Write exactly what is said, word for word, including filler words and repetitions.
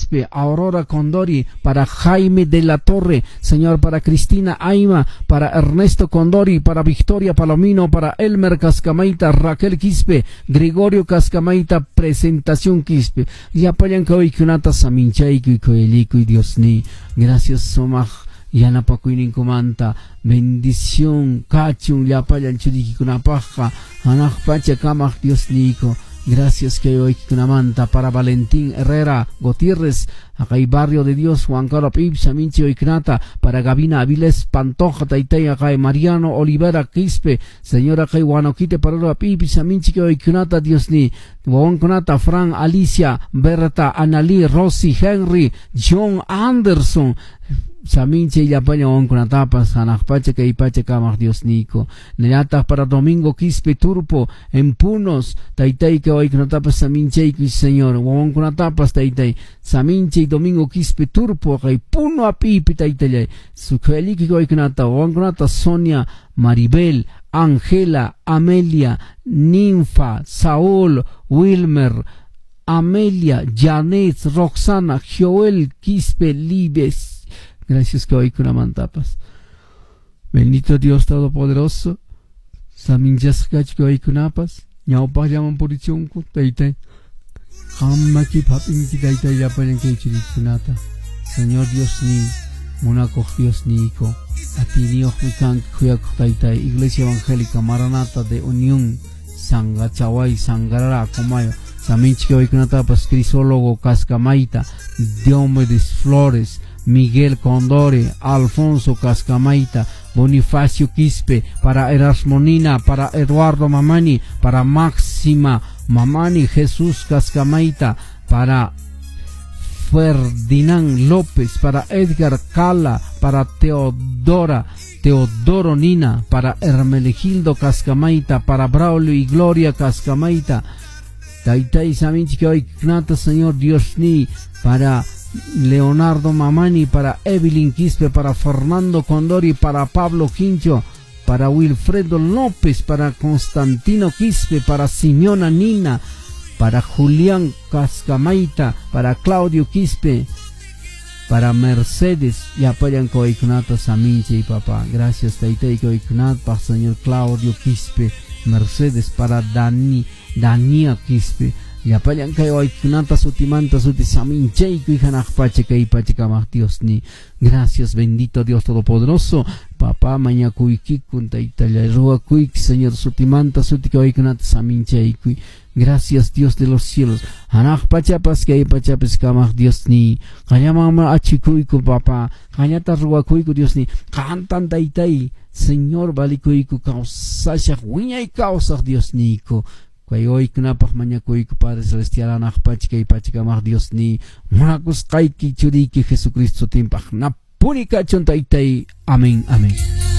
Quispe, Aurora Condori, para Jaime de la Torre, Señor, para Cristina Aima, para Ernesto Condori, para Victoria Palomino, para Elmer Cascamaita, Raquel Quispe, Gregorio Cascamaita, Presentación Quispe. Llapallan kawaykunata saminchaykuy kuyallikuy Dios ni. Gracias sumaq yanapakuyninkumanta bendición kachun llapallan churikikunapaqqa hanaq pacha kamaq Dios niyku. Gracias que hoy kunamanta para Valentín Herrera Gutiérrez, acá Barrio de Dios, Juan Carlos Pipsa, Minchi Oiknata, para Gabina Avilés Pantoja, Taitay, acá Mariano Olivera Quispe, señora acá Guanoquite, para la Pipsa, Minchi Oiknata, Dios ni, Kunata, Fran, Alicia, Berta, Analí, Rosy, Henry, John Anderson, Saminche y llapallan wawankunatapas hanaq pacha kay pacha kamaq Dios niyku. Nallataq para Domingo Quispe Turpo en Punos, taytay kawaykunatapas saminchaykuy Señor, wawankunatapas taytay, saminche y Domingo Quispe Turpo kay Puno apipi taytallay, sukhaliki kawaykunata, wawankunata Sonia, Maribel, Angela, Amelia, Ninfa, Saúl, Wilmer, Amelia, Janet, Roxana, Joel, Quispe, Libes. Gracias que hoy kunamantapas. Bendito Dios Todopoderoso. Saminchasqa kawaykunapas. Ñawpaqllaman purichunku taytay. Qamaki hap'inki taytay llapallan kay churikunata. Señor Dios ni, munakuq Dios niyku. Atiyniyuqmi kanki khuyakuq taytay. Iglesia Evangélica Maranata de Unión Sangachaway Sangarara Acomayo. Saminchik kawaykunatapas Crisólogo Cascamaita, Diomedes Flores, Miguel Condori, Alfonso Cascamaita, Bonifacio Quispe, para Erasmonina, para Eduardo Mamani, para Máxima Mamani, Jesús Cascamaita, para Ferdinand López, para Edgar Cala, para Teodora, Teodoro Nina, para Hermelegildo Cascamaita, para Braulio y Gloria Cascamaita, Taytay saminchik kawaykunata, Señor Dios ni, para Leonardo Mamani, para Evelyn Quispe, para Fernando Condori, para Pablo Quincho, para Wilfredo López, para Constantino Quispe, para Simeona Nina, para Julián Cascamaita, para Claudio Quispe, para Mercedes, llapallan kawaykunata saminche y papá. Gracias taytay kawaykunatpaq, Señor Claudio Quispe, Mercedes, para Dani, Dania Quispe, llapallan kay waykunata sutimanta suti saminchaykuy hanaq pacha kay pacha kamaq Dios ni. Gracias bendito Dios Todopoderoso. Papá mañakuykikun taytallay ruwakuyki Señor sutimanta suti kawaykunata saminchaykuy. Gracias Dios de los cielos. Hanaq pachapas kay pachapas kamaq Dios ni. Qallamanma achikuyku papá. Qallata ruwakuyku Dios ni. Qantan taytay Señor valikuyku kawsashaq wiñay kawsaq Dios niyku. Kay waykunapaq mañakuyku Padre Celestial hanaq pacha kay pacha kamaq Dios ni. Munakusqayki churiyki Jesucristo timpaq napuni kachun taytay. Amén, amén.